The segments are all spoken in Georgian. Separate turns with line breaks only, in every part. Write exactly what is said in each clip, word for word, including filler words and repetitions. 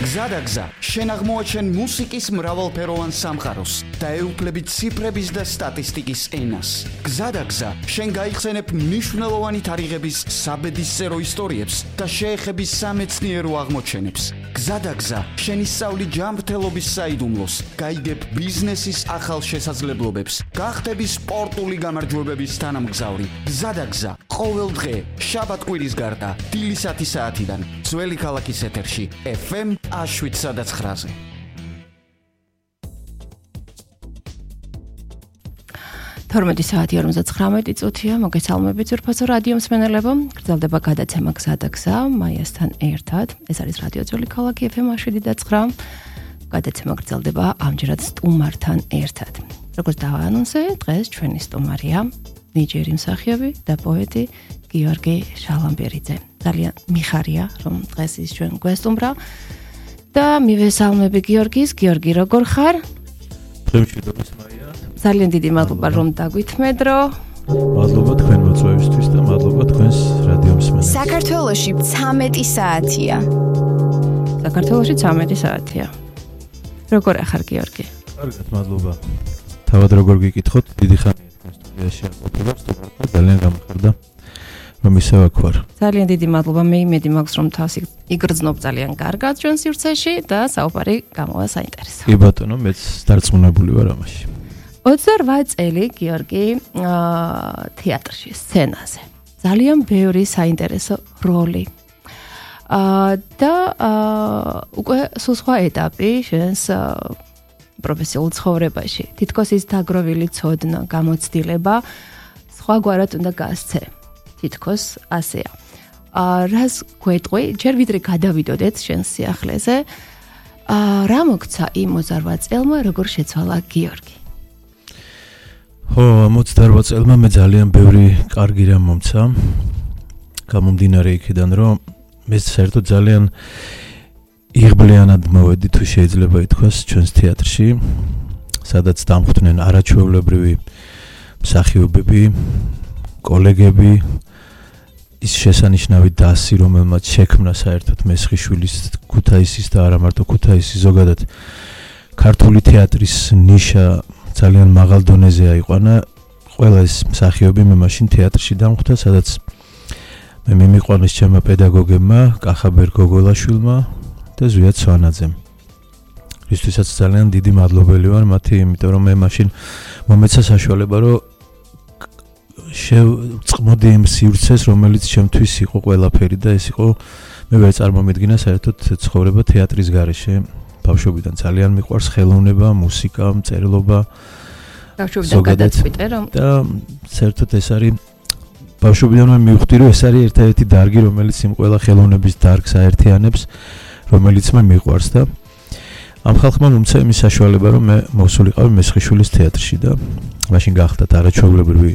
გზადაგზა, შენ აღმოაჩენ მუსიკის მრავალფეროვან სამყაროს და ეუფლები ციფრების და სტატისტიკის ენას. გზადაგზა, შენ გაიხსენებ მნიშვნელოვანი თარიღების საბედისწერო ისტორიებს და შეეხები სამეცნიერო აღმოჩენებს. გზადაგზა, შენ ისწავლი ჯანმრთელობის საიდუმლოს, გაიგებ ბიზნესის ახალ შესაძლებლობებს, გახდები სპორტული გამარჯვებების თანამგზავრი. გზადაგზა, ყოველ დღე, შაბათ-კვირის გარდა, დილისათი საათიდან, ძველი ქალაქის ეთერში, ეფ ემ შვიდსა და ცხრაზე.
თორმეტი საათი ორმოცდათხრამეტი წუთია, მოგესალმებით ძვირფასო რადიო მსმენელებო. გრძელდება გადაცემა გზადაგზა მაიასთან ერთად. ეს არის რადიო ძველი ქალაქი ეფ ემ შვიდი და ცხრა. გადაცემა გრძელდება ამჯერად სტუმართან ერთად. როგორც დავაანონსე, დღეს ჩვენი სტუმარია ნიჭიერი მსახიობი და პოეტი გიორგი შალამბერიძე. ძალიან მიხარია, რომ დღეს ის ჩვენ გვესტუმრა. და მივესალმები გიორგის. გიორგი, როგორ ხარ?
მშვიდობის მაია.
ძალიან დიდი მადლობა რომ დაგვითმედრო.
მადლობა თქვენ მოწვევისთვის და მადლობა თქვენს რადიო მსმენელს.
საქართველოში ცამეტი საათია.
საქართველოში ცამეტი საათია. როგორ ახარ გიორგი?
კარგად, მადლობა. თავად როგორ გიკითხოთ, დიდი ხანია თქვენ სტუდიაში აყოფილებ, სტუმართა ძალიან გამხარდა. რომ ისე ვაქვარ.
ძალიან დიდი მადლობა. მე იმედი მაქვს რომ თავს იგრძნობ ძალიან კარგად ჩვენ სივრცეში და საუბარი გამოვა საინტერესო.
კი ბატონო, მეც დარწმუნებული ვარ ამაში.
ოცდაორვე წელი გიორგი თეატრში, სცენაზე. ძალიან ბევრი საინტერესო როლი. და უკვე სულ სხვა ეტაპი შენს პროფესიულ ცხოვრებაში. თითქოს ის დაგროვილი ცოდნა, გამოცდილება სხვაგვარად უნდა გასცე. თითქოს ასეა. აა რას გვეტყვი, ჯერ ვიდრე გადავიდოდეთ შენ სიახლეზე, აა რა მოგცა იმ ოცდაორვე წელმა, როგორ შეცვალა გიორგი?
ხო, ამ ოცდაორვე წელმა მე ძალიან ბევრი კარგი რამ მომცა. გამომდინარე იქიდან, რომ მე საერთოდ ძალიან იღბლიანად მოვედი, თუ შეიძლება ითქვას, ჩვენს თეატრში, სადაც დამხვდნენ არაჩვეულებრივი მსახიობები, კოლეგები, ის შესანიშნავი დასი, რომელმაც შექმნა საერთოდ მესხიშვილის, ქუთაისის და არა მარტო ქუთაისის, ზოგადად ქართული თეატრის ნიშა ძალიან მაღალ დონეზე აიყვანა. ყველა ეს მსახიობი მე მაშინ თეატრში დამხვდა, სადაც მე მიმიყვანეს ჩემმა პედაგოგებმა, კახაბერ გოგოლაშვილმა და ზვიად სვანაძემ. ისთვისაც ძალიან დიდი მადლობელი ვარ მათი, იმიტომ რომ მე მაშინ მომეცა საშუალება, რომ შევწყმოდი იმ სივრცეს, რომელიც ჩემთვის იყო ყველაფერი და ეს იყო, მე ვერ წარმომედგინა საერთოდ ცხოვრება თეატრის გარეშე. ბავშვობიდან ძალიან მიყვარს ხელოვნება, მუსიკა, მწერლობა.
ბავშვობიდან გადაწყვიტე რომ
და საერთოდ ეს არის ბავშვობიდან მე მივხვდი, რომ ეს არის ერთ-ერთი დარგი, რომელიც იმ ყველა ხელოვნების დარგს აერთიანებს, რომელიც მე მიყვარს და ამ ხალხმა მომცა იმის საშუალება, რომ მე მოვსულიყავი მესხიშვილის თეატრში და მაშინ გახდათ არაჩვეულებრივი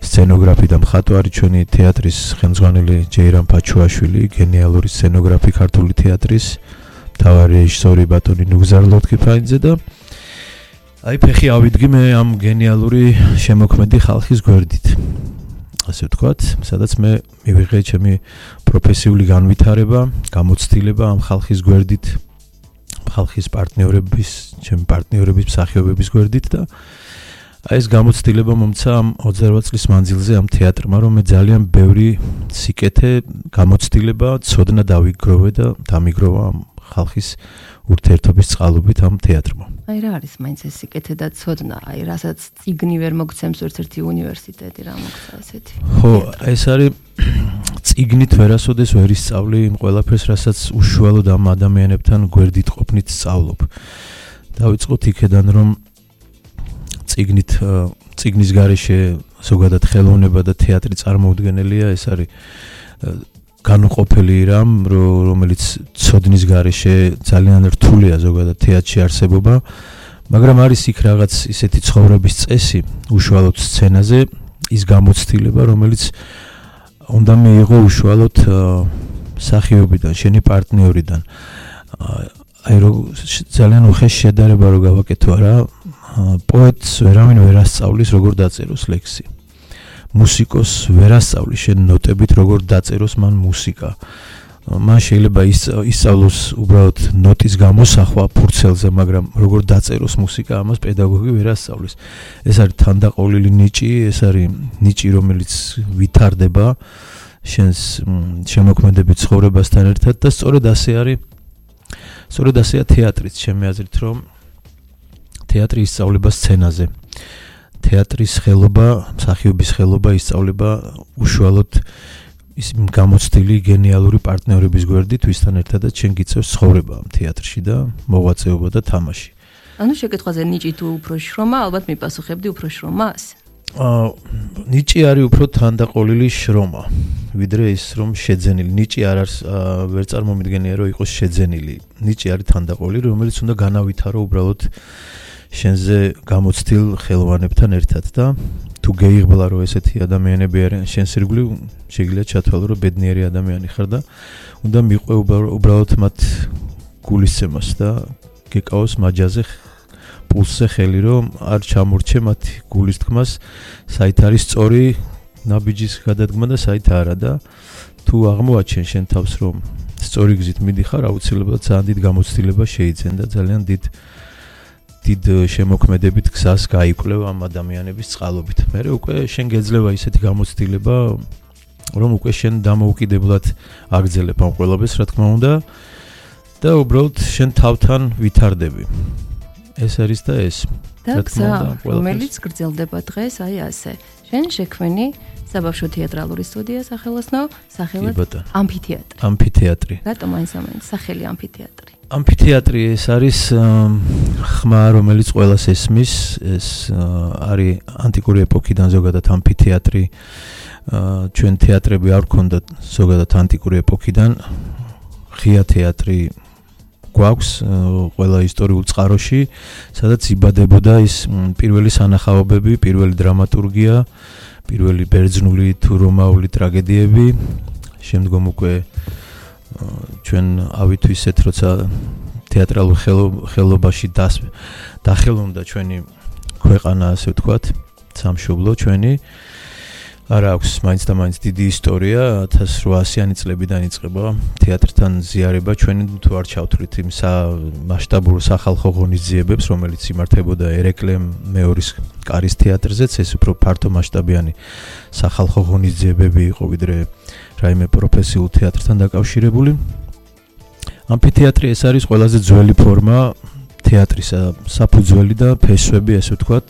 სცენოგრაფი და მხატვარი ჩვენი თეატრის ხელმძღვანელი ჯეირამ ფაჩუაშვილი, გენიალური სცენოგრაფი ქართული თეატრის, მთავარი რეჟისორი ბატონი ნუგზარ ლოთქიფაიძე და აი ფეხი ავიდგი მე ამ გენიალური შემოქმედი ხალხის გვერდით. ასე ვთქვათ, სადაც მე მივიღე ჩემი პროფესიული განვითარება, გამოცდილება ამ ხალხის გვერდით, ხალხის პარტნიორების, ჩემი პარტნიორების, მსახიობების გვერდით და აი ეს გამოცდილება მომცა ამ ოცდაორვე წლის მანძილზე ამ თეატრმა, რომ მე ძალიან ბევრი სიკეთე, გამოცდილება, ცოდნა დავიგროვე და დამიგროვა ამ ხალხის ურთიერთობის წყალობით ამ თეატრმა.
აი რა არის მაინც ეს სიკეთე და ცოდნა, აი რასაც წიგნი ვერ მოგცემს ერთ-ერთი უნივერსიტეტი, რა მოგცა ესეთი?
ხო, ეს არის წიგნით ვერასოდეს ვერ ისწავლი იმ ყველაფერს, რასაც უშუალოდ ამ ადამიანებთან გვერდით ყოფნით სწავლობ. დავიწყოთ იქედან, რომ წიგნით წიგნის გარეშე ზოგადად ხელოვნება და თეატრი წარმოუდგენელია, ეს არის განუყოფელი რამ, რომელიც ცოდნის გარეშე ძალიან რთულია ზოგადად თეატრში არსებობა, მაგრამ არის იქ რაღაც ისეთი ცხოვრების წესი, უშუალოდ სცენაზე, ის გამოცდილება, რომელიც უნდა მიიღო უშუალოდ მსახიობიდან, შენი პარტნიორიდან. აი რო ძალიან უხეშ შედარება რო გავაკეთო რა, პოეტს ვერავინ ვერ ასწავლის როგორ დაწეროს ლექსი. მუსიკოს ვერ ასწავლის შენ ნოტებით როგორ დაწეროს მან მუსიკა. მან შეიძლება ისწავლოს უბრალოდ ნოტის გამოსახვა ფურცელზე, მაგრამ როგორ დაწეროს მუსიკა, ამას პედაგოგი ვერ ასწავლის. ეს არის თანდაყოლილი ნიჭი, ეს არის ნიჭი, რომელიც ვითარდება შენს შემოქმედებით ცხოვრებასთან ერთად და სწორედ ასე არის. სწორედ ასეა თეატრიც, ჩემი აზრით, რომ თეატრი ისწავლება სცენაზე. თეატრის ხელობა, მსახიობის ხელობა ისწავლება უშუალოდ ის გამოცდილი გენიალური პარტნიორების გვერდით, ვისთან ერთადაც შენ გიწევს ცხოვრება ამ თეატრში და მოღვაწეობა და თამაში.
ანუ შეკითხვაზე ნიჭი თუ უფრო შრომა, ალბათ მიპასუხებდი უფრო შრომას?
აა ნიჭი არის უფრო თანდაყოლილი შრომა, ვიდრე ის რომ შეძენილი. ნიჭი არ არის ვერ წარმომიდგენია რომ იყოს შეძენილი. ნიჭი არის თანდაყოლილი, რომელიც უნდა განავითარო უბრალოდ შენზე გამოცდილ ხელოვანებთან ერთად და თუ გეიღბლა რომ ესეთი ადამიანები არიან შენს ირგვლივ, შეგიძლია ჩათვალო რომ ბედნიერი ადამიანი ხარ და უნდა მიყვე უბრალოდ მათ გულისცემას და გეკავოს მაჯაზე პულსზე ხელი, რომ არ ჩამორჩე მათ გულის თქმას, საით არის სწორი ნაბიჯის გადადგმა და საით არა და თუ აღმოაჩენ შენ თავს რომ სწორი გზით მიდიხარ, აუცილებლად ძალიან დიდ გამოცდილება შეიძენ და ძალიან დიდ დიდ შემოქმედებით გზას გაიკვლევ ამ ადამიანების წყალობით. მერე უკვე შენ გეძლევა ისეთი გამოცდილება, რომ უკვე შენ დამოუკიდებლად აგრძელებ ამ ყველაფერს, რა თქმა უნდა, და უბრალოდ შენ თავთან ვითარდები. ეს არის და ეს.
და გზა, რომელიც გრძელდება დღეს, აი ასე. შენ შექმენი საბავშვო თეატრალური სტუდია სახელოსნო, სახელად ამფითეატრი.
ამფითეატრი.
რატომ მაინც ამაინც სახელი ამფითეატრი?
ამფითეატრი ეს არის ხმა, რომელიც ყველას ესმის, ეს არის ანტიკური ეპოქიდან ზოგადად ამფითეატრი. ჩვენ თეატრები არ გქონდა ზოგადად ანტიკური ეპოქიდან. ღია თეატრი გვაქვს ყველა ისტორიულ წყაროში, სადაც იბადებოდა ის პირველი სანახაობები, პირველი დრამატურგია, პირველი ბერძნული თუ რომაული ტრაგედიები, შემდგომ უკვე ჩვენ ავით ისეთ, როცა თეატრალურ ხელობაში დახელოვნდა ჩვენი ქვეყანა, ასე ვთქვათ, სამშობლო ჩვენი. არა აქვს მაინც და მაინც დიდი ისტორია, ათას რვაასიანი წლებიდან იწყება თეატრთან ზიარება, ჩვენი თუ არ ჩავთვლით იმ მასშტაბურ სახალხო ღონისძიებებს, რომელიც იმართებოდა ერეკლემ მეორის კარის თეატრზეც, ეს უფრო ფართო მასშტაბიანი სახალხო ღონისძიებები იყო, ვიდრე რაიმე პროფესიულ თეატრთან დაკავშირებული. ამფითეატრი ეს არის ყველაზე ძველი ფორმა თეატრისა, საფუძველი და ფესვები, ასე ვთქვათ,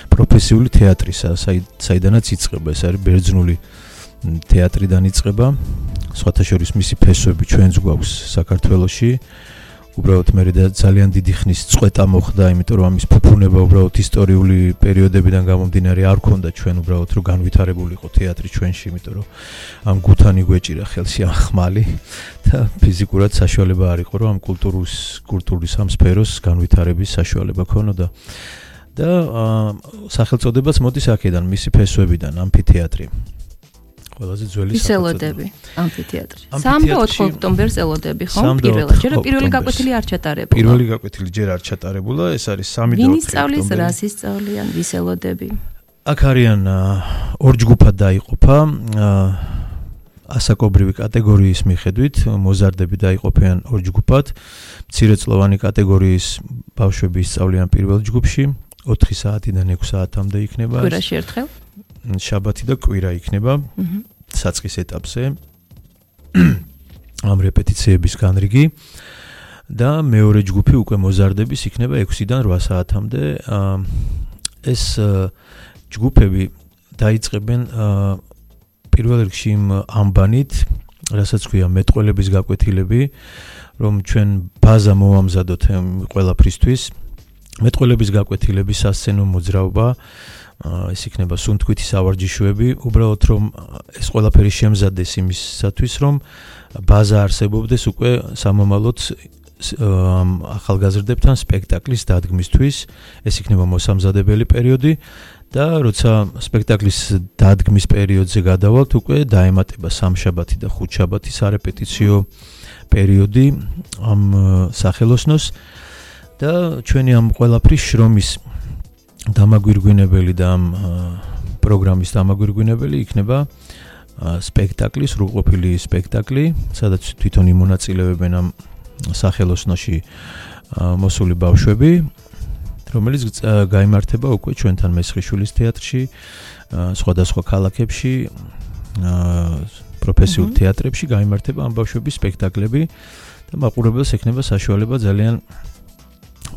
პროფესიული თეატრისა, საიდანაც იწყება, ეს არის ბერძნული თეატრიდან იწყება. სხვათა შორის მისი ფესვები ჩვენც გვაქვს საქართველოში. უბრალოდ მე ძალიან დიდი ხნის წვეტა მოხდა, იმიტომ რომ ამის ფუფუნება უბრალოდ ისტორიული პერიოდებიდან გამომდინარე არ ქონდა ჩვენ უბრალოდ რომ განვითარებული იყო თეატრი ჩვენში, იმიტომ რომ ამ გუთანი გვეჭირა ხელში ამ ხმალი და ფიზიკურად საშუალება არ იყო რომ ამ კულტურის კულტურის ამ სფეროს განვითარების საშუალება ქონოდა. და სახელწოდებაც მოდის აქედან, მისი ფესვებიდან, ამფითეატრი. ყველაზე ძველი
სახელწოდება. ამფითეატრი. სამი და ოთხი ოქტომბერს ელოდები, ხო? პირველად. ჯერ პირველი გაკვეთილი არ ჩატარებულა.
პირველი გაკვეთილი ჯერ არ ჩატარებულა, ეს არის სამი და ოთხი ოქტომბერი.
ვინ სწავლის, რას ისწავლიან, ვის ელოდები?
აქ არიან ორ ჯგუფად დაიყოფა. ასაკობრივი კატეგორიის მიხედვით მოზარდები დაიყოფიან ორ ჯგუფად. მცირეწლოვანი კატეგორიის ბავშვები ისწავლიან პირველ ჯგუფში. ოთხი საათიდან ექვსი საათამდე იქნება.
კვირაში ერთხელ?
შაბათი და კვირა იქნება. საწყის ეტაპზე. ამ რეპეტიციების განრიგი და მეორე ჯგუფი უკვე მოზარდების იქნება ექვსიდან რვა საათამდე. ეს ჯგუფები დაიწყებენ პირველ რიგში იმ ამბანით, რასაც ქვია მეტყველების გაკვეთილები, რომ ჩვენ ბაზა მოვამზადოთ ყველაფრისთვის. მეტყველების გაკვეთილები, სასცენო მოძრაობა, ეს იქნება სუნთქვითი სავარჯიშოები, უბრალოდ რომ ეს ყველაფერი შემზადდეს იმისათვის, რომ ბაზა არსებობდეს უკვე სამომავლოდ ახალგაზრდებთან სპექტაკლის დადგმისთვის, ეს იქნება მოსამზადებელი პერიოდი და როცა სპექტაკლის დადგმის პერიოდზე გადავალთ, უკვე დაემატება სამშაბათი და ხუთშაბათი სარეპეტიციო პერიოდი ამ სახელოსნოს. და ჩვენი ამ ყველაფრის შრომის დამაგვირგვინებელი და ამ პროგრამის დამაგვირგვინებელი იქნება სპექტაკლი, სრულყოფილი სპექტაკლი, სადაც თვითონ იმონაწილეებენ ამ სახელოსნოში მოსული ბავშვები, რომელიც გაიმართება უკვე ჩვენთან მესხიშვილის თეატრში, სხვადასხვა ქალაქებში, პროფესიულ თეატრებში გაიმართება ამ ბავშვების სპექტაკლები და მაყურებელს ექნება საშუალება ძალიან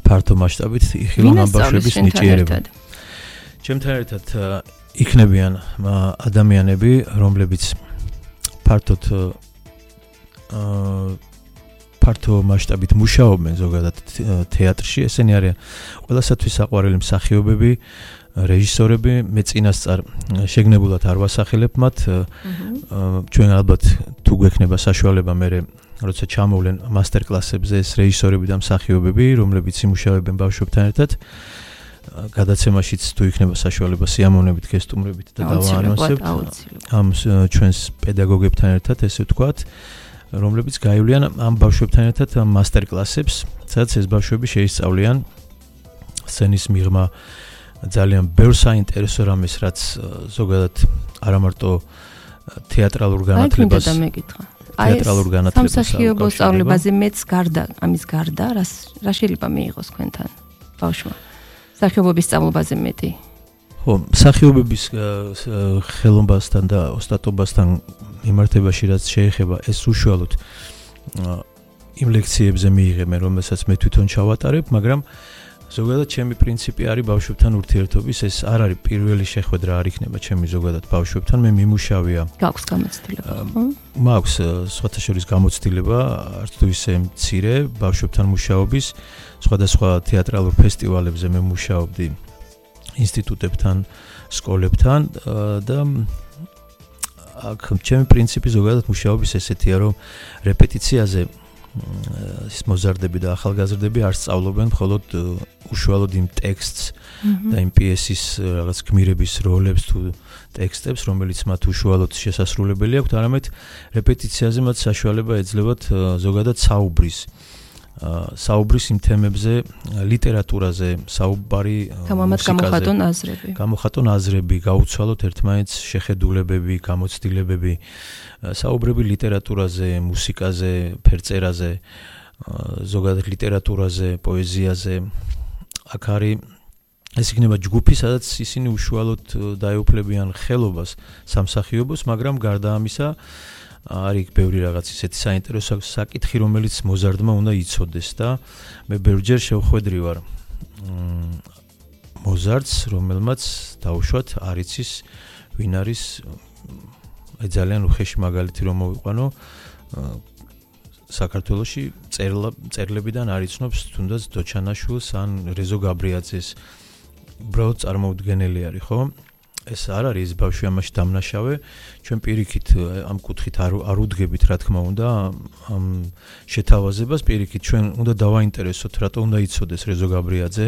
ფართო მასშტაბით იხილონ ამ ბავშვების ნიჭიერება. ჩემთან ერთად იქნებიან ადამიანები, რომლებიც ფართოდ ფართო მასშტაბით მუშაობენ ზოგადად თეატრში, ესენი არიან ყველასათვის საყვარელი მსახიობები, რეჟისორები, მე წინასწარ შეგნებულად არ ვასახელებ მათ, ჩვენ ალბათ თუ გვექნება საშუალება მე როცა ჩამოვლენ მასტერკლასებზე ეს რეჟისორები და მსახიობები, რომლებიც იმუშავებენ ბავშვებთან ერთად, გადაცემაშიც თუ იქნება საშუალება სიამოვნებით გესტუმრებით და დავაანონსებთ ამ ჩვენს პედაგოგებთან ერთად, ესე ვთქვათ, რომლებიც გაივლიან ამ ბავშვებთან ერთად მასტერკლასებს, სადაც ეს ბავშვები შეისწავლიან სცენის მიღმა ძალიან ბევრ საინტერესო რამეს, რაც ზოგადად არა მარტო თეატრალურ განათლებას თეატრალურ განათლებას
სამსახიობო სწავლებაზე მეც გარდა ამის გარდა რა შეიძლება მიიღოს თქვენთან ბავშვმა მსახიობობის სწავლობაზე მეტი?
ხო, მსახიობების ხელოვნებასთან და ოსტატობასთან მიმართებაში რაც შეეხება, ეს უშუალოდ იმ ლექციებზე მიიღე მე, რომელსაც მე თვითონ ჩავატარებ, მაგრამ ზოგადად ჩემი პრინციპი არის ბავშვებთან ურთიერთობის, ეს არ არის პირველი შეხვედრა არ იქნება ჩემი ზოგადად ბავშვებთან, მე მიმუშავია.
გაქვს გამოცდილება, ხო?
მაქვს სხვათა შორის გამოცდილება, არც თუ ისე მცირე ბავშვებთან მუშაობის, სხვადასხვა თეატრალურ ფესტივალებზე მე მუშაობდი ინსტიტუტებთან, სკოლებთან და აქ ჩემი პრინციპი ზოგადად მუშაობის ესეთია, რომ რეპეტიციაზე ის მოზარდები და ახალგაზრდები არ სწავლობენ მხოლოდ უშუალოდ იმ ტექსტს და იმ პიესის რაღაც გმირების როლებს თუ ტექსტებს, რომელიც მათ უშუალოდ შესასრულებელი აქვთ, არამედ რეპეტიციაზე მათ საშუალება ეძლევათ ზოგადად საუბრის საუბრის იმ თემებზე, ლიტერატურაზე, საუბარი
გამოხატონ აზრები.
გამოხატონ აზრები, გაუცვალოთ ერთმანეთს შეხედულებები, გამოცდილებები, საუბრები ლიტერატურაზე, მუსიკაზე, ფერწერაზე, ზოგადად ლიტერატურაზე, პოეზიაზე. აქ არის ეს იქნება ჯგუფი, სადაც ისინი უშუალოდ დაეუფლებიან ხელობას სამსახიობოს, მაგრამ გარდა ამისა არის ბევრი რაღაც ისეთი საინტერესო საკითხი, რომელიც მოზარდმა უნდა იცოდეს და მე ბევრჯერ შევხვედრი ვარ მოზარდს, რომელმაც დაუშვათ არ იცის ვინ არის, აი ძალიან უხეში მაგალითი რომ მოვიყვანო, საქართველოში წერლებიდან არ იცნობს თუნდაც დოჩანაშვილს ან რეზო გაბრიაძეს, უბრალოდ წარმოუდგენელი არის, ხო? ეს არ არის ეს ბავშვი ამაში დამნაშავე, ჩვენ პირიქით ამ კუთხით არ არ უდგებით რა თქმა უნდა ამ შეთავაზებას, პირიქით ჩვენ უნდა დავაინტერესოთ, რატო უნდა იცოდეს რეზო გაბრიაძე,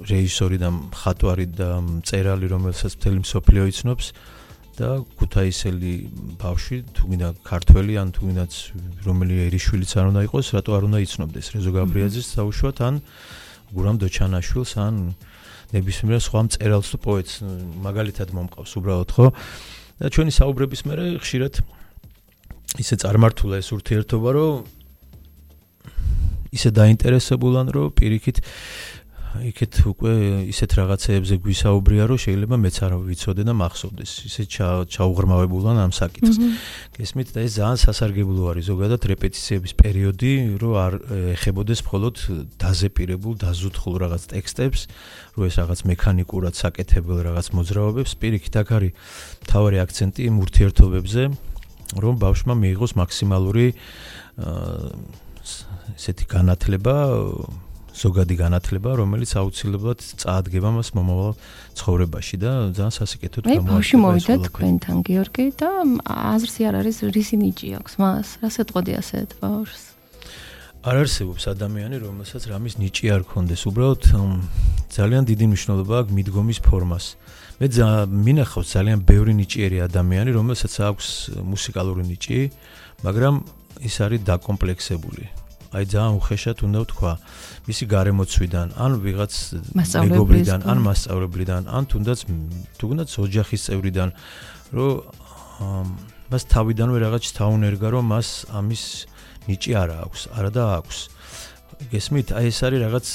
რეჟისორი და მხატვარი და მწერალი, რომელსაც მთელი მსოფლიო იცნობს და ქუთაისელი ბავშვი, თუ გინდა ქართველი ან თუ გინდაც რომელი ერიშვილიც არ უნდა იყოს, რატო არ უნდა იცნობდეს რეზო გაბრიაძეს საუშვად ან გურამ დოჩანაშვილს ან ნებისმიერ სხვა მწერალს თუ პოეტს მაგალითად მომყავს უბრალოდ, ხო? და ჩვენი საუბრების მერე ხშირად ისე წარმართულა ეს ურთიერთობა, რომ ისე დაინტერესებულან, რომ პირიქით იქეთ უკვე ისეთ რაღაცეებზე გვისაუბრია, რომ შეიძლება მეც არ ვიცოდე და მახსოვდეს. ისე ჩაუღრმავებულან ამ საკითხს. გესმით და ეს ძალიან სასარგებლო არის ზოგადად რეპეტიციების პერიოდი, რომ არ ეხებოდეს მხოლოდ დაზეპირებულ, დაზუთხულ რაღაც ტექსტებს, რომ ეს რაღაც მექანიკურად საკეთებელ რაღაც მოძრაობებს, პირიქით აქ არის მთავარი აქცენტი იმ ურთიერთობებზე, რომ ბავშვმა მიიღოს მაქსიმალური ესეთი განათლება, ზოგადი განათლება, რომელიც აუცილებლად წაადგება მას მომავალ ცხოვრებაში და ძალიან სასიკეთოდ
გამოარჩევა. მე ბავშვი მოვიდა თქვენთან, გიორგი, და აზრს არ არის რისი ნიჭი აქვს მას, რას ეთყოდი ასეთ ბავშვს?
არ არსებობს ადამიანი, რომელსაც რამის ნიჭი არ ქონდეს, უბრალოდ ძალიან დიდი მნიშვნელობა აქვს მიდგომის ფორმას. მე მინახავს ძალიან ბევრი ნიჭიერი ადამიანი, რომელსაც აქვს მუსიკალური ნიჭი, მაგრამ ის არის დაკომპლექსებული. აი ძალიან უხეშად უნდა ვთქვა, მისი გარემოცვიდან, ან ვიღაც მეგობრიდან, ან მასწავლებლიდან, ან თუნდაც თუნდაც ოჯახის წევრიდან, რომ მას თავიდანვე რაღაც თაუნერგა რომ მას ამის ნიჭი არა აქვს, არა და აქვს. გესმით, აი ეს არის რაღაც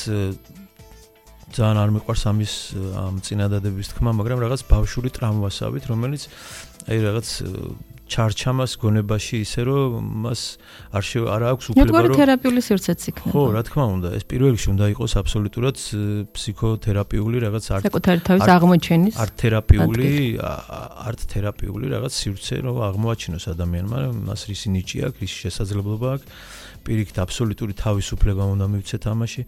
ძალიან არ მიყვარს ამის ამ წინადადების თქმა, მაგრამ რაღაც ბავშვური ტრამვასავით, რომელიც აი რაღაც ჩარჩამას გონებაში ისე რომ მას არ შე არ აქვს უფლება რომ
თერაპიული სივრცეც იქნება.
ხო, რა თქმა უნდა, ეს პირველ რიგში უნდა იყოს აბსოლუტურად ფსიქოთერაპიული რაღაც არც
საკუთარი თავის აღმოჩენის
არც თერაპიული არც თერაპიული რაღაც სივრცე რომ აღმოაჩინოს ადამიანმა, მას რისი ნიჭი აქვს, რისი შესაძლებლობა აქვს, პირიქით აბსოლუტური თავისუფლება უნდა მივცეთ ამაში.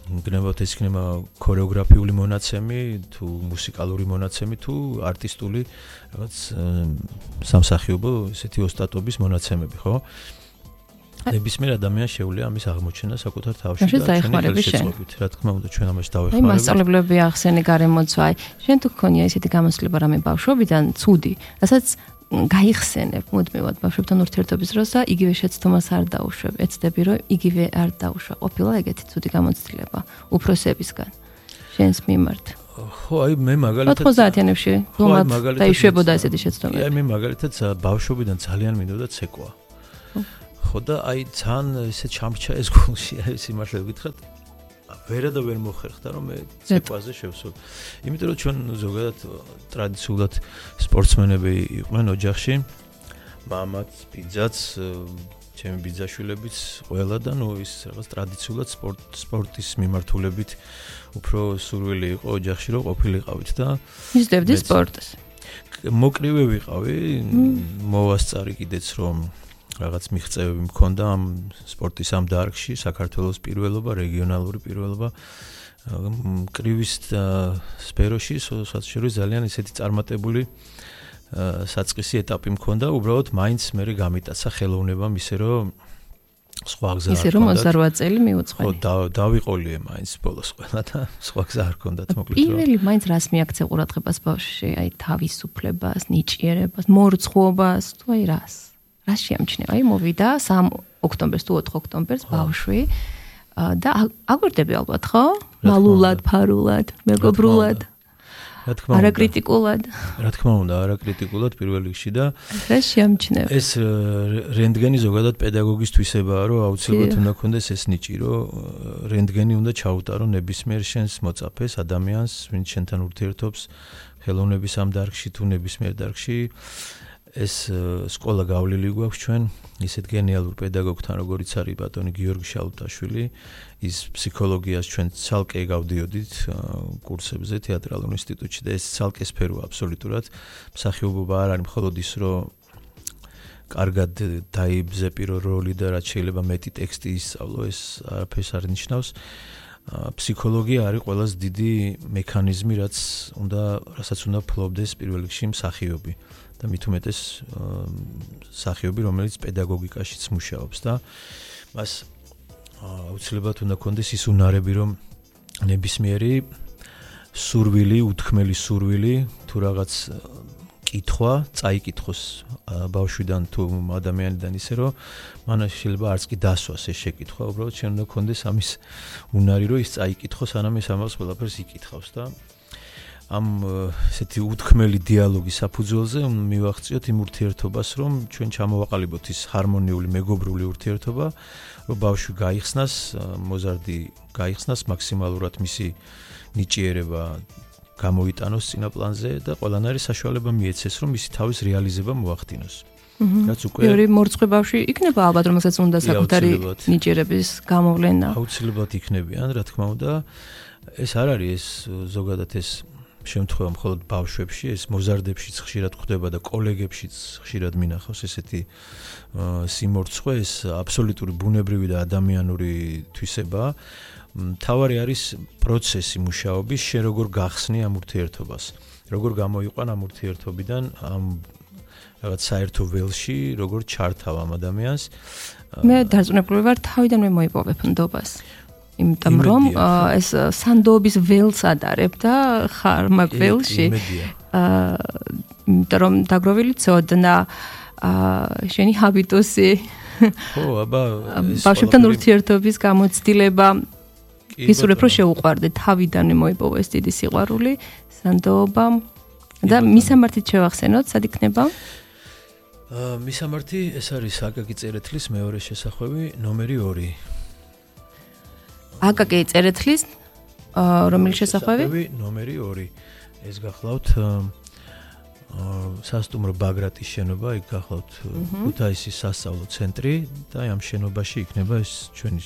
გნებავთ ეს იქნება ქორეოგრაფიული მონაცემი, თუ მუსიკალური მონაცემი, თუ არტისტული რაღაც სამსახიობო ესეთი ოსტატობის მონაცემები, ხო? ნებისმიერ ადამიანს შეუძლია ამის აღმოჩენა საკუთარ თავში და ჩვენი შეწყობით. რა თქმა უნდა, ჩვენ ამაში დავეხმარებით.
აი, მასწავლებლები ახსენე გარემოცვა, აი, შენ თუ გქონია ესეთი გამოცდილება რამე ბავშვობიდან, ცუდი, რასაც გაიხსენებ მუდმივად ბავშვებთან ურთიერთობის დროს და იგივე შეცდომას არ დაუშვებ. ეცდები რომ იგივე არ დაუშვა. ყოფილა ეგეთი ცუდი გამოცდილება უფროსებისგან შენს მიმართ.
ხო, აი მე მაგალითად
ოთხმოცდაათიანებში გლომად დაიშვებოდა ესეთი შეცდომები.
აი მე მაგალითად ბავშვობიდან ძალიან მინდოდა ცეკვა. ხო და აი ძალიან ესე ჩამრჩა ეს გულში, აი სიმართლე ვგითხრათ. ვერა და ვერ მოხერხდა რომ მე ცეკვაზე შევსულ. იმიტომ რომ ჩვენ ზოგადად ტრადიციულად სპორტსმენები იყვნენ ოჯახში. მამაც, ბიძაც, ჩემი ბიძაშვილებიც ყველა და ნუ ის რაღაც ტრადიციულად სპორტ სპორტის მიმართულებით უფრო სურვილი იყო ოჯახში რომ ყოფილიყავით და
მისდევდი სპორტს.
მოკრივე ვიყავი, მოვასწარი კიდეც რომ რაღაც მიღწევები მქონდა ამ სპორტის ამ დარგში, საქართველოს პირველობა, რეგიონალური პირველობა. კრივის სფეროში სოციალური ძალიან ისეთი წარმატებული საწყისი ეტაპი მქონდა, უბრალოდ მაინც მე გამიტაცა ხელოვნებამ ისე რომ სხვა გზა არ
ისე რომ ოცდარვა წელი მიუძღვენი.
ხო, დავიყოლიე მაინც ბოლოს ყველა და სხვა გზა არ ჰქონდათ მოკლედ.
პირველი მაინც რას მიაქცე ყურადღებას ბავშვში, აი თავისუფლებას, ნიჭიერებას, მორცხვობას, თუ აი რას? რას შეამჩნევა? აი მოვიდა სამ ოქტომბერს თუ ოთხ ოქტომბერს ბავშვი და აგვირდები ალბათ, ხო? მალულად, ფარულად, მეგობრულად.
რა თქმა უნდა.
არაკრიტიკულად.
რა თქმა უნდა, არაკრიტიკულად პირველ რიგში და
რას შეამჩნევა?
ეს რენტგენი ზოგადად პედაგოგის თვისებაა, რომ აუცილებლად უნდა ქონდეს ეს ნიჭი, რომ რენტგენი უნდა ჩაუტარო ნებისმიერ შენს მოწაფეს, ადამიანს, ვინც შენთან ურთიერთობს ხელოვნების ამ დარგში თუ ნებისმიერ დარგში. ეს სკოლა გავლილი გვაქვს ჩვენ ისეთ გენიალურ პედაგოგთან როგორიც არის ბატონი გიორგი შალუტაშვილი ის ფსიქოლოგიას ჩვენ ცალკე გავდიოდით კურსებზე თეატრალურ ინსტიტუტში და ეს ცალკე სფეროა აბსოლუტურად მსახიობობა არ არის მხოლოდ ის რომ კარგად დაიბზეპირო როლი და რაც შეიძლება მეტი ტექსტი ისწავლო ეს არაფერს არ ნიშნავს ფსიქოლოგია არის ყველაზე დიდი მექანიზმი რაც უნდა რასაც უნდა ფლობდეს პირველ რიგში მსახიობი და მით უმეტეს მსახიობი რომელიც პედაგოგიკაშიც მუშაობს და მას აუცილებლად უნდა კონდეს ის უნარები რომ ნებისმიერი სურვილი უთქმელი სურვილი თუ რაღაც კითხვა წაიკითხოს ბავშვიდან თუ ადამიანიდან ისე რომ მან შეიძლება არც კი დასვას ეს შეკითხვა უბრალოდ შენ უნდა კონდეს ამის უნარი რომ ის წაიკითხოს ანამ ეს ამას ყველაფერს იკითხავს და ამ ესეთი უთქმელი დიალოგის საფუძველზე მივახციოთ იმ ურთიერთობას რომ ჩვენ ჩამოვაყალიბოთ ის ჰარმონიული მეგობრული ურთიერთობა რომ ბავშვი გაიხსნას მოზარდი გაიხსნას მაქსიმალურად მისი ნიჭიერება გამოიტანოს წინა პლანზე და ყველანაირი საშუალება მიეცეს რომ მისი თავის რეალიზება მოახდინოს. რაც უკვე
ორი მორცხვი ბავშვი იქნება ალბათ რომელსაც უნდა საკუთარი ნიჭიერების გამოვლენა.
აუცილებლად იქნებიან, რა თქმა უნდა. ეს არ არის ეს ზოგადად ეს შემთხვევა მხოლოდ ბავშვებში, ეს მოზარდებშიც ხშირად ხდება და კოლეგებშიც ხშირად მინახავს ესეთი სიმორცხვე, ეს აბსოლუტური ბუნებრივი და ადამიანური თვისებაა. თავარი არის პროცესი მუშაობის, შენ როგორ გახსნი ამ ურთიერთობას, როგორ გამოიყვან ამ ურთიერთობიდან ამ რაღაც საერთო ველში, როგორ ჩართავ ამ ადამიანს.
მე დარწმუნებული ვარ, თავიდანვე მოიპოვებ ნდობას. იმიტომ რომ ეს სანდოობის ველს ადარებ და ხარ მაგ ველში. აა იმიტომ რომ დაგროვილი ცოდნა, აა შენი ჰაბიტუსი.
ხო, აბა
ბავშვებთან ურთიერთობის გამოცდილება ისურვებ რომ შეუყვარდე თავიდანვე მოიპოვა ეს დიდი სიყვარული, სანდოობა და მისამართით შევახსენოთ, სად იქნება?
მისამართი ეს არის აკაკი წერეთლის მეორე შესახვევი ნომერი ორი.
აკაკი წერეთლის რომელი შესახვევი?
ნომერი ორი. ეს გახლავთ სასტუმრო ბაგრატის შენობა, იქ გახლავთ ქუთაისის სასწავლო ცენტრი და ამ შენობაში იქნება ეს ჩვენი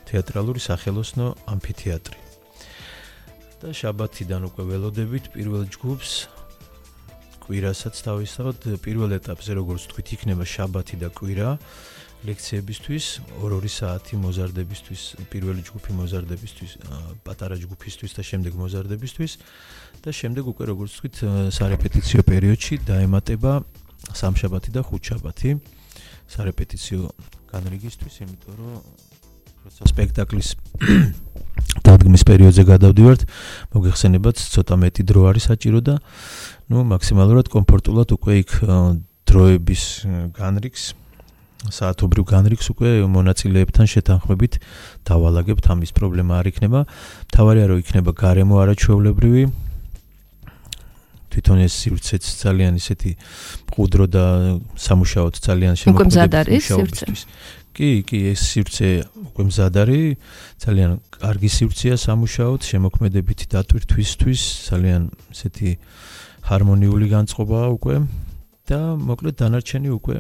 თეატრალური სახელოსნო ამფითეატრი. და შაბათიდან უკვე ველოდებით პირველ ჯგუფს კვირასაც თავისთავად პირველ ეტაპზე როგორც თქვით იქნება შაბათი და კვირა ლექციებისთვის ორ-ორი საათი მოზარდებისთვის პირველი ჯგუფი მოზარდებისთვის პატარა ჯგუფისთვის და შემდეგ მოზარდებისთვის და შემდეგ უკვე როგორც თქვით სარეპეტიციო პერიოდში დაემატება სამშაბათი და ხუთშაბათი სარეპეტიციო განრიგისთვის იმიტომ რომ როცა სპექტაკლის დადგმის პერიოდზე გადავდივართ მოგეხსენებათ ცოტა მეტი დრო არის საჭირო და ну მაქსიმალურად კომფორტულად უკვე იქ დროების განრიგს საათობრივ განრიგს უკვე მონაწილეებთან შეთანხმებით დავალაგებთ ამის პრობლემა არ იქნება თავარია რომ იქნება გარემო არაჩვეულებრივი თვითონ ეს სივრცეც ძალიან ისეთი მყუდრო და სამუშაოდ ძალიან
შემოქმედებული მუშაობისთვის
კი კი ეს სივრცე უკვე მზად არის ძალიან კარგი სივრცეა სამუშაოდ შემოქმედებითი დატვირთვისთვის ძალიან ისეთი ჰარმონიული განწყობაა უკვე და მოკლედ დანარჩენი უკვე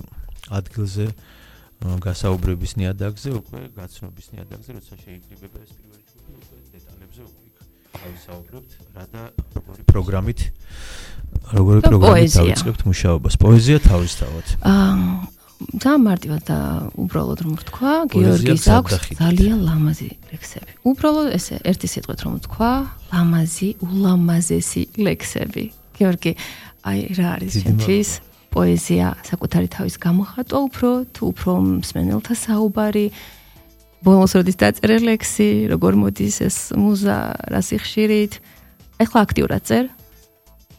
ადგილზე გასაუბრების ნიადაგზე უკვე გაცნობის ნიადაგზე როცა შეიკრიბება ეს პირველი ჯგუფი უკვე დეტალებზე უკვე გავისაუბრებთ რა და როგორი პროგრამით როგორი პროგრამით დავიწყებთ მუშაობას პოეზია თავისთავად
აა ძალიან მარტივად და უბრალოდ რომ ვთქვა გიორგის აქვს ძალიან ლამაზი ლექსები უბრალოდ ესე ერთი სიტყვით რომ ვთქვა ლამაზი ულამაზესი ლექსები გიორგი აი რა არის ჩემთვის პოეზია საკუთარი თავის გამოხატვა უფრო თუ უფრო მსმენელთა საუბარი ბოლოს როდის დაწერე ლექსი როგორ მოდის ეს მუზა რა სიხშირით ეხლა აქტიურად წერ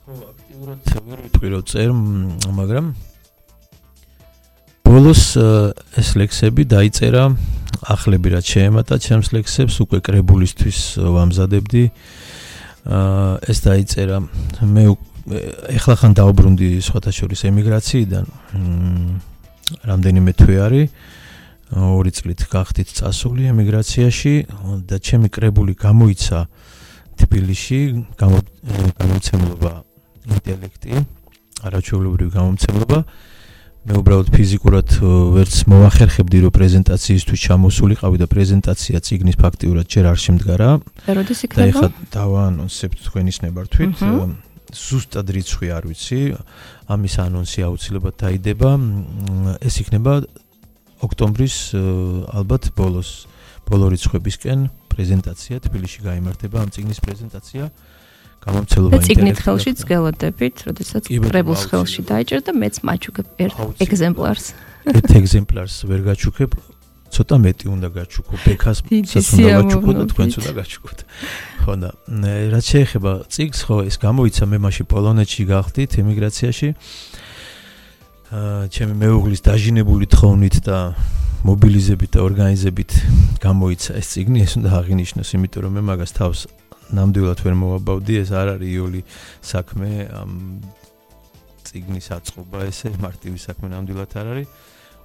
ხო აქტიურად ვერ ვიტყვი რომ წერ მაგრამ ბოლოს ეს ლექსები დაიწერა ახლები რაც შეემატა ჩემს ლექსებს უკვე კრებულისთვის ვამზადებდი ეს დაიწერა მე ეხლა ხან დაუბრუნდი სხვათა შორის ემიგრაციიდან რამდენიმე თვე არის ორი წლით გახდით წასული ემიგრაციაში და ჩემი კრებული გამოიცა თბილისში გამომცემლობა ინტელექტი არაჩვეულებრივი გამომცემლობა მე უბრალოდ ფიზიკურად ვერც მოახერხებდი რომ პრეზენტაციისთვის ჩამოსულიყავი და პრეზენტაცია ციგნის ფაქტიურად ჯერ არ შემდგარა
და როდის იქნება
და ეხლა დავაანონსებთ თქვენის ნებართვით ზუსტად რიცხვი არ ვიცი ამის ანონსი აუცილებლად დაიდება ეს იქნება ოქტომბრის ალბათ ბოლოს ბოლო რიცხვებისკენ პრეზენტაცია თბილისში გაიმართება ამ ციგნის პრეზენტაცია გამომცემლობა ინტელექტი
ციგნით ხელშიც გელოდებით როდესაც კრებულს ხელში დაიჭერ და მეც მაჩუქებ ერთ ეგზემპლარს
ერთ ეგზემპლარს ვერ გაჩუქებ ცოტა მეტი უნდა გაჩუქო ბექას უნდა გაჩუქო და თქვენც უნდა გაჩუქოთ ხო და რაც შეეხება ციგს ხო ეს გამოიცა მე მაშინ პოლონეთში გახდით ემიგრაციაში ჩემი მეუღლის დაჟინებული თხოვნით და მობილიზებით და ორგანიზებით გამოიცა ეს ციგნი ეს უნდა აღინიშნოს იმიტომ რომ მე მაგას თავს ნამდვილად ვერ მოვაბავდი ეს არ არის იოლი საქმე ამ ციგნის აწყობა ესე მარტივი საქმე ნამდვილად არ არის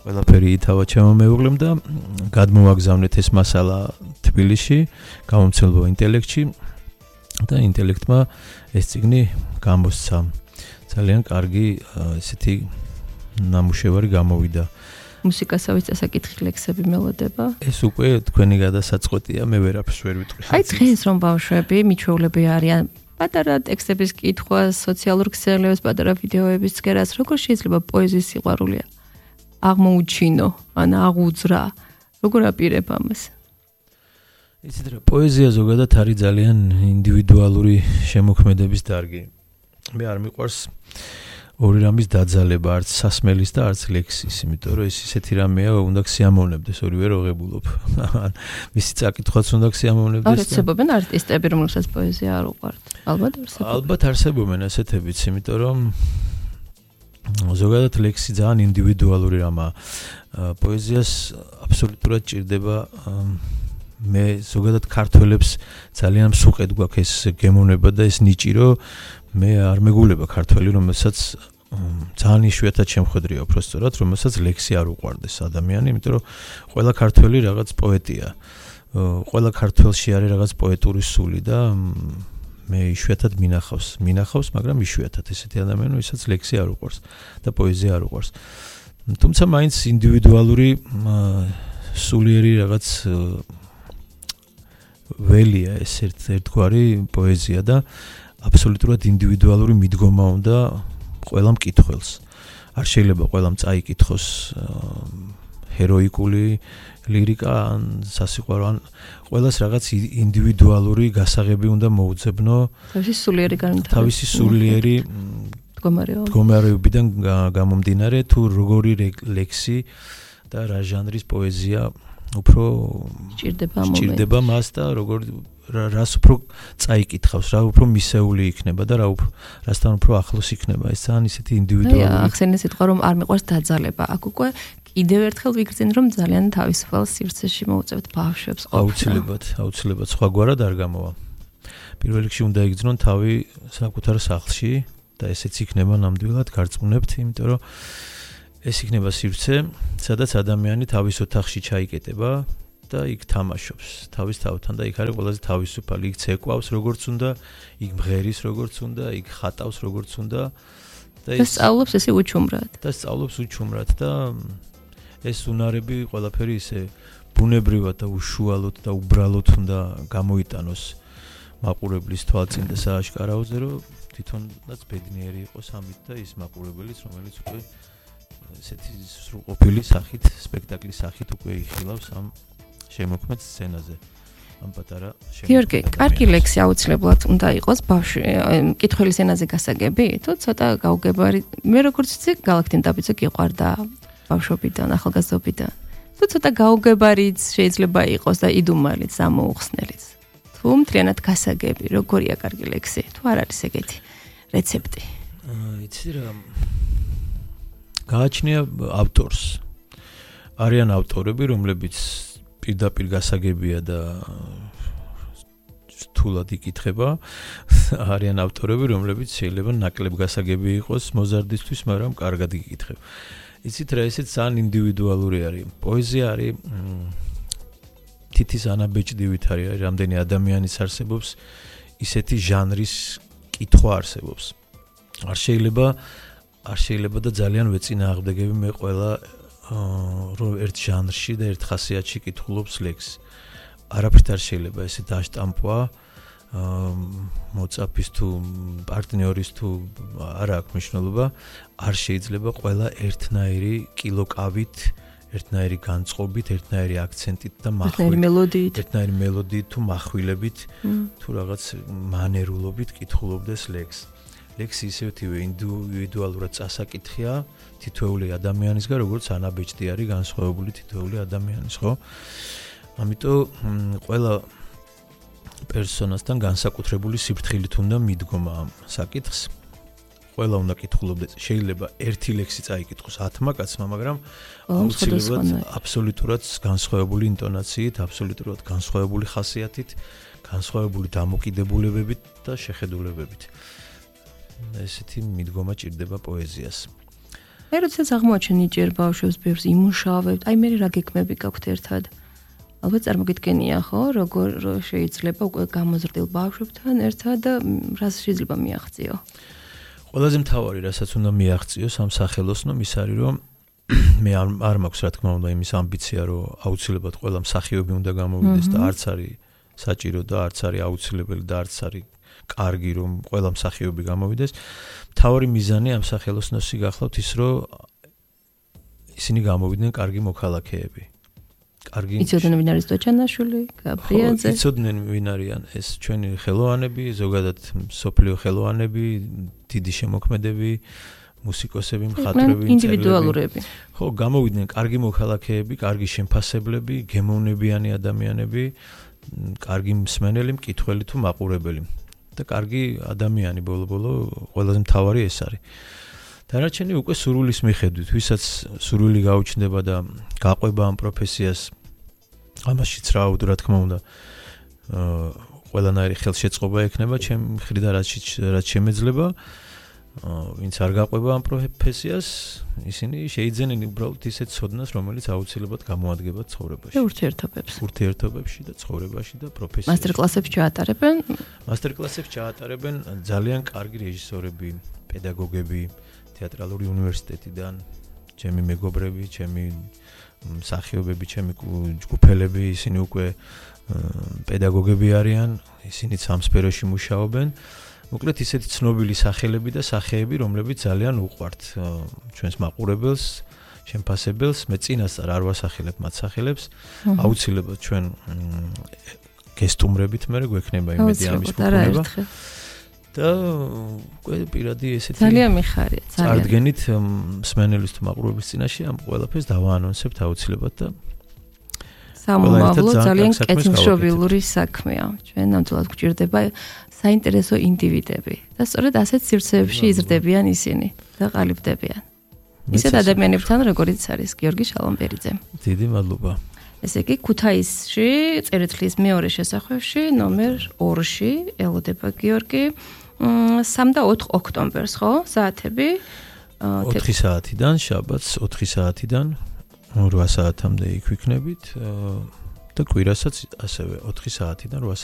ყველაფერი ითავა ჩემო მეუღლემ და გადმოვაგზავნეთ ეს მასალა თბილისში გამომცემლობა ინტელექტში და ინტელექტმა ეს ციგნი გამოსცა ძალიან კარგი ესეთი ნამუშევარი გამოვიდა
მუსიკასავით დასაკითხი ლექსები მელოდება
ეს უკვე თქვენი გადასაწყვეტია მე ვერაფერს ვერ ვიტყვი
აი დღეს რომ ბავშვები მიჩვეულები არიან პატარა ტექსტების კითხვა სოციალურ ქსელებს პატარა ვიდეოების წერას როგორ შეიძლება პოეზიის სიყვარული აღმოუჩინო ან აღუძრა როგორ აპირებ ამას
იცით რა პოეზია ზოგადად არის ძალიან ინდივიდუალური შემოქმედების დარგი მე არ მიყვარს ორი რამის დაძალება არც სასმელის და არც ლექსის იმიტომ რომ ეს ისეთი რამეა უნდა გსიამოვნებდეს ორივე რო ღებულობ მისი წაკითხვაც უნდა გსიამოვნებდეს
და არსებობენ არტისტები რომელსაც პოეზია არ უყვართ ალბათ არსებობენ
ალბათ არსებობენ ასეთებიც იმიტომ რომ ზოგადად ლექსი ძალიან ინდივიდუალური რამაა პოეზიას აბსოლუტურად ჭირდება მე ზოგადად ქართველებს ძალიან მსუყედ გვაქვს ეს გემოვნება და ეს ნიჭი რომ მე არ მეგულება ქართველი რომელსაც ძალიან იშვიათად შემხედრია უბრალოდ, რომელსაც ლექსი არ უყვარდეს ადამიანი, იმიტომ რომ ყველა ქართველი რაღაც პოეტია. ყველა ქართველში არის რაღაც პოეტური სული და მე იშვიათად მინახავს, მინახავს, მაგრამ იშვიათად ესეთი ადამიანი, ვისაც ლექსი არ უყვარს და პოეზია არ უყვარს. თუმცა მაინც ინდივიდუალური სულიერი რაღაც ველია ეს ერთგვარი პოეზია და აბსოლუტურად ინდივიდუალური მიდგომა უნდა ყველა მკითხველს. არ შეიძლება ყველამ წაიკითხოს ჰეროიკული ლირიკა ან სასიყვარო ან ყველას რაღაც ინდივიდუალური გასაღები უნდა მოუძებნო
თავისი სულიერი განვითარება. თავისი
სულიერი მდგომარეობიდან გამომდინარე თუ როგორი ლექსი და რა ჟანრის პოეზია უფრო ჭირდება მას და როგორ რას უფრო წაიკითხავს, რა უფრო მისეული იქნება და რა უფრო რასთან უფრო ახლოს იქნება. ეს ძალიან ისეთი ინდივიდუალური.
ახსენე სიტყვა რომ არ მიყვარს დაძალება. აქ უკვე კიდევ ერთხელ ვიგრძენ რომ ძალიან თავისუფალ სივრცეში მოუწევთ ბავშვებს ყოფნა.
აუცილებლად, აუცილებლად სხვაგვარად არ გამოვა. პირველ რიგში უნდა იგრძნონ თავი საკუთარ სახლში და ესეც იქნება ნამდვილად გარწმუნებთ, იმიტომ რომ ეს იქნება სივრცე, სადაც ადამიანი თავის ოთახში ჩაიკეტება და იქ თამაშობს თავის თავთან და იქ არის ყველაზე თავისუფალი, იქ ცეკვავს როგორც უნდა, იქ მღერის როგორც უნდა, იქ ხატავს როგორც უნდა
და ეს სწავლობს ესე უჩუმრად.
და სწავლობს უჩუმრად და ეს უნარები ყველაფერი ისე ბუნებრივად და უშუალოდ და უბრალოდ უნდა გამოიტანოს მაყურებლის თვალწინ და სააშკარაოზე, რომ თვითონაც ბედნიერი იყოს ამით და ის მაყურებელიც, რომელიც უკვე ესეთი სრულყოფილი სახით, სპექტაკლის სახით უკვე იხილავს ამ შემოქმედ სცენაზე. ამ პატარა შემოქმედ.
გიორგი, კარგი ლექსი აუცილებლად უნდა იყოს ბავშვი, მკითხველის ენაზე გასაგები, თუ ცოტა გაუგებარი. მე როგორც ვიცი, გალაქტინ დაბიძე გიყვარდა ბავშვობიდან, ახალგაზრდობიდან. თუ ცოტა გაუგებარიც შეიძლება იყოს და იდუმალიც, ამოუხსნელიც. თუ მთლიანად გასაგები, როგორია კარგი ლექსი? თუ არ არის ეგეთი რეცეპტი?
იცი რა გააჩნია ავტორს. არიან ავტორები, რომლებიც პირდაპირ გასაგებია და რთულად იკითხება. არიან ავტორები, რომლებიც შეიძლება ნაკლებ გასაგები იყოს მოზარდისთვის, მაგრამ კარგად იკითხება. იცით რა, ესეც ძალიან ინდივიდუალური არის. პოეზია არის თითის ანაბეჭდივით არის, რამდენი ადამიანის არსებობს, ისეთი ჟანრის კითხვა არსებობს. არ შეიძლება არ შეიძლება და ძალიან ვეწინააღმდეგები მე ყველა რომ ერთ ჟანრში და ერთ ხასიათში კითხულობს ლექსს. არაფრით არ შეიძლება ესე დაშტამპვა მოწაფის თუ პარტნიორის თუ არა აქვს მნიშვნელობა. არ შეიძლება ყველა ერთნაირი კილოკავით, ერთნაირი განწყობით, ერთნაირი აქცენტით და
მელოდიით,
ერთნაირი მელოდიით თუ מחვილებით თუ რაღაც მანერულობით კითხულობდეს ლექსს. ლექსი ისეთივე ინდივიდუალურად წასაკითხია თითოეული ადამიანისგან, როგორც ანაბეჭდი არის განსხვავებული თითოეული ადამიანის, ხო? ამიტომ ყველა პერსონასთან განსაკუთრებული სიფრთხილით უნდა მიდგომა ამ საკითხს. ყველა უნდა კითხულობდეს. შეიძლება ერთი ლექსი წაიკითხოს ათმა კაცმა, მაგრამ აუცილებლად აბსოლუტურად განსხვავებული ინტონაციით, აბსოლუტურად განსხვავებული ხასიათით, განსხვავებული დამოკიდებულებებით და შეხედულებებით. ესეთი მიდგომა ჭირდება პოეზიას.
მე როდესაც აღმოაჩენ ნიჭიერ ბავშვებს ბევრს იმუშავებთ, აი მე რა გეკმები გაქვთ ერთად. ალბათ წარმოგიდგენია, ხო, როგორ შეიძლება უკვე გამოზრდილ ბავშვებთან ერთად რას შეიძლება მიაღწიო.
ყველაზე მთავარი, რასაც უნდა მიაღწიოს ამ სახელოსნომ, ის არის, რომ მე არ მაქვს რა თქმა უნდა იმის ამბიცია, რომ აუცილებლად ყველა მსახიობი უნდა გამოვიდეს და არც არის საჭირო და არც არის აუცილებელი და არც არის კარგი რომ ყველა მსახიობი გამოვიდეს. მთავარი მიზანი ამ სახელოსნოსი გახლავთ ის, რომ ისინი გამოვიდნენ კარგი მოქალაქეები. კარგი
იცოდნენ ვინ არის დოჩანაშვილი, გაბრიაძე.
იცოდნენ ვინ არიან ეს ჩვენი ხელოვანები, ზოგადად მსოფლიო ხელოვანები, დიდი შემოქმედები, მუსიკოსები, მხატვრები,
ინდივიდუალურები.
ხო, გამოვიდნენ კარგი მოქალაქეები, კარგი შემფასებლები, გემოვნებიანი ადამიანები, კარგი მსმენელი, მკითხველი თუ მაყურებელი. და კარგი ადამიანი ბოლო-ბოლო ყველაზე მთავარი ეს არის. დანარჩენი უკვე სურვილის მიხედვით, ვისაც სურვილი გაუჩნდება და გაყვება ამ პროფესიას, ამაშიც რა რა თქმა უნდა, ყველანაირი ხელშეწყობა ექნება ჩემი მხრიდან, რაც რაც შემეძლება. ვინც არ გაყვება ამ პროფესიას, ისინი შეიძენენ უბრალოდ ისეთ ცოდნას, რომელიც აუცილებლად გამოადგება ცხოვრებაში.
ურთიერთობებს.
ურთიერთობებში და ცხოვრებაში და პროფესიაში.
მასტერკლასებს ჩაატარებენ?
მასტერკლასებს ჩაატარებენ ძალიან კარგი რეჟისორები, პედაგოგები, თეატრალური უნივერსიტეტიდან, ჩემი მეგობრები, ჩემი მსახიობები, ჩემი ჯგუფელები, ისინი უკვე პედაგოგები არიან, ისინიც ამ სფეროში მუშაობენ. მოკლედ ისეთი ცნობილი სახელები და სახეები, რომლებიც ძალიან უყვართ ჩვენს მაყურებელს, შემფასებელს, მე წინასწარ არ ვასახელებ მათ სახელებს, აუცილებლად ჩვენ გესტუმრებით მე გვექნება იმედი ამის მოგონება. და უკვე პირადი ესეთი
ძალიან მიხარია, ძალიან.
წარდგენით მსმენელის თუ მაყურებლის წინაშე ამ ყველაფერს დავაანონსებთ აუცილებლად და
სამომავლო ძალიან კეთილშობილური საქმეა. ჩვენ ნამდვილად გვჭირდება საინტერესო ინდივიდები და სწორედ ასეთ სივრცეებში იზრდებიან ისინი და ყალიბდებიან. ისეთ ადამიანებთან, როგორიც არის გიორგი შალომბერიძე.
დიდი მადლობა.
ესე იგი, ქუთაისში წერეთლის მეორე შესახვევში, ნომერ ორში ელოდება გიორგი სამ და ოთხ ოქტომბერს, ხო? საათები
ოთხი საათიდან, შაბათს ოთხი საათიდან რვა საათამდე იქ ვიქნებით და კვირასაც ასევე ოთხი საათიდან რვა